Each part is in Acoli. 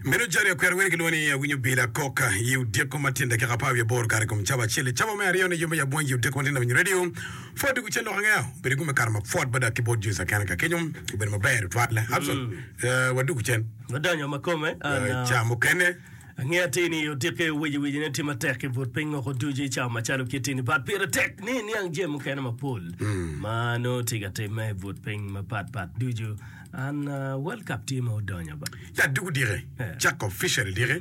Meno jari akwero wene kilwongo ni awinyo bila kok i odiko ma tyen dakika 18 kare kom cawa acel i cawa me aryo ni yombe ya bwangi odiko ma tyen awinyo radio pwod dugu cen lok angeya obedo gume kare ma pwod bada ki bot Joyce akena ka kenyo obedo maber tutwal Abson eh, wadugu cen Wadonyo ma kome an, Eh, ca mukene Angeyo atir ni odikke wici wici ne tye matek i but piny woko ducu i cawa macalo kiti ni but pire tek ni iniang jami mukene mapol ma nongo tye ka timme i but piny mapat pat ducu. An World Cup tye ma odonyo ba. Ya dugu dike cako officially dike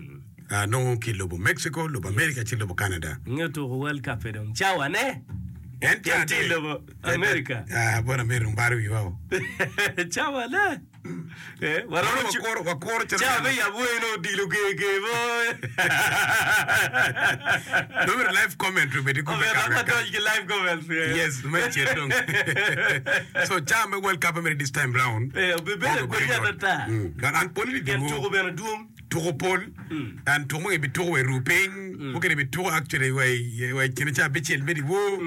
nongo ki lobo Mexico, lobo America ci lobo Canada. Inge tuko World Cup pe dong cawa ne. En Pien tye i lobo America. Ah, bot America dong baro wiwa o. Cawa ne. Eh, waromo Mono wakuro, wakuro calo Cawa me yab weng nongo odilo ger ger mo. Nongo myero live commentary obed i group me Omyero kare dok ka wadony ki live commentary. Yes, me cet dong. So cawa me World Cup mere this time round. Eh, obibedo Obibedo agwenya yot. atata. Mm. But an pol ni Pien dong tuko bene dwong. tuko pol and tuko mukene bituko wa i ruu piny mukene bituko actually wa i wa i kine ca abicel me dyewor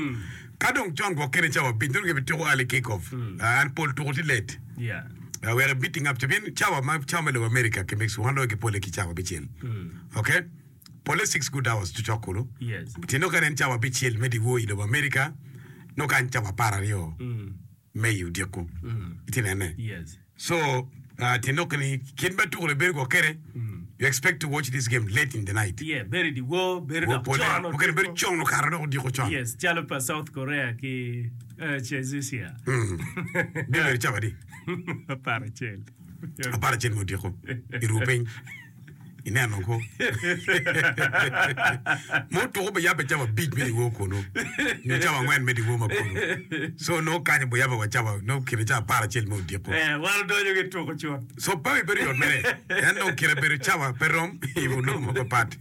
ka dong con gwok kene cawa abic nongo gibituko early kick off Ah, and pol tuko tye late Yeah. Ah, wek ibiting up ca pien cawa ma cawa me lobo America ki Mexico wan loyo ki pole ki cawa abicel okay pole six good hours cocok kulu Yes. tye nongo kany en cawa abicel me dyewor i lobo America nongo kany cawa 12 me i odiko itye nene Yes. So, uh, tyen lok ni kit ma tuko-ni bedo gwok kede, you expect to watch this game late in the night. Yeah, bedo i dyewor, bedo Wo dok pole, con mukene bedo odiko. con okato dok odiko con. Yes, calo pa South Korea ki uh, Tunisia. Mm. Bino bedo cawa adi? 11. 11 me odiko i ruu piny. Ineno ko. Mo tuko be yabbe cawa abic me dyewor kunu, nyo cawa angwen me dyewor ma kunu. So nongo kany obo yabbe wa cawa, nongo kine cawa 11 me odiko. Eh, wan odonyo ki tuko cut. So pe bedo yot mere. En dong kine bedo cawa pe rom i onongo mapapat.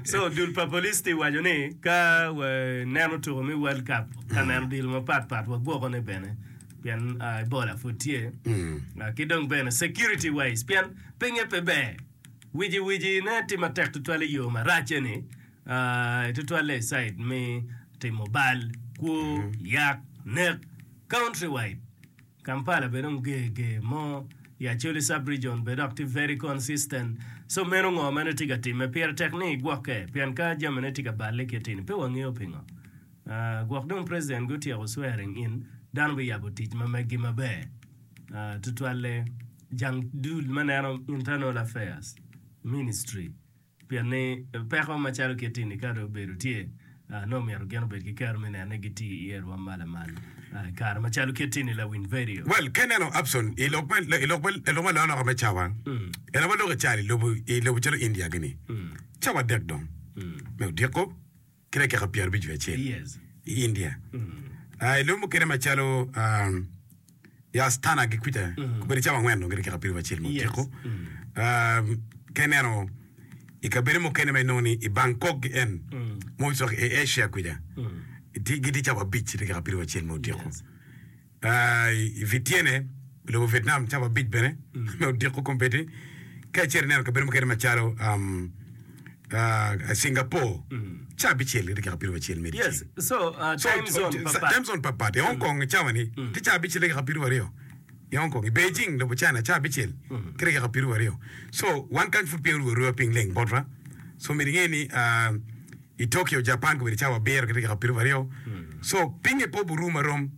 So dul pa police tye waco ni ka waneno tuko me World Cup, ka neno dilo mapat pat wagwoko ne bene pien Ebola pud tye. Ki dong bene security wise pien Pinye pe ber. Wici wici ne tye matek tutwal i yo maracce ni, tutwalle i cide me timo bal, kwo, yak, nek, country wide. Kampala bene dong ger ger mo i Acholi sub region bene dok tye very consistent. So meno ngo ma nongo tye ka timme? Pire tek ni igwokke pien ka jami ne tye ka balle kit eni pe wangeyo pingo. Gwok dong president gutyeko swearing in dano biyabo tic ma meggi maber tutwalle Jang dul ma neno Internal Affairs Ministry pien ni peko macalo kit ni ka dong obedo tye nongo myero gin obed ki kero me neno ni gitiyo iye rwom ma lamal i kare macalo kit ni lawiny vedio. Well, ka ineno Abson i lok me i lok me i lok me alokaloka me cawa, en aye waloko i caro i lobo i lobo calo India gini, cawa adek dong me odiko ki dakika 51 i India. I lobo mukene macalo i Astana ki kwica obedo cawa angwen dong ki dakika 21 me odiko. Ka ineno i kabedo mukene ma inongo ni i Bangkok gi en most of i Asia kwica gitye cawa abic ki dakika 21 me odiko. I Vityene, lobo Vietnam, cawa abic bene me odiko kombeddi. Ka icito ineno kabedo mukene macalo Singapore, cawa abicel ki dakika 21 me dyeceng. So, time zone patpat. I Hong Kong i cawa-ni tye cawa abicel ki dakika 22 i Hong Kong. I Beijing, lobo China, cawa abicel ki dakika 22. So, wan kany pud piny orumo aruba piny leng botwa. So, myero inge ni I Tokyo, Japan kobedo cawa abiro ki dakika 22. So pinye pe oburu marom.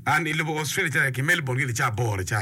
An i lobo Australia calo ki Melbourne gin i cawa aboro ca.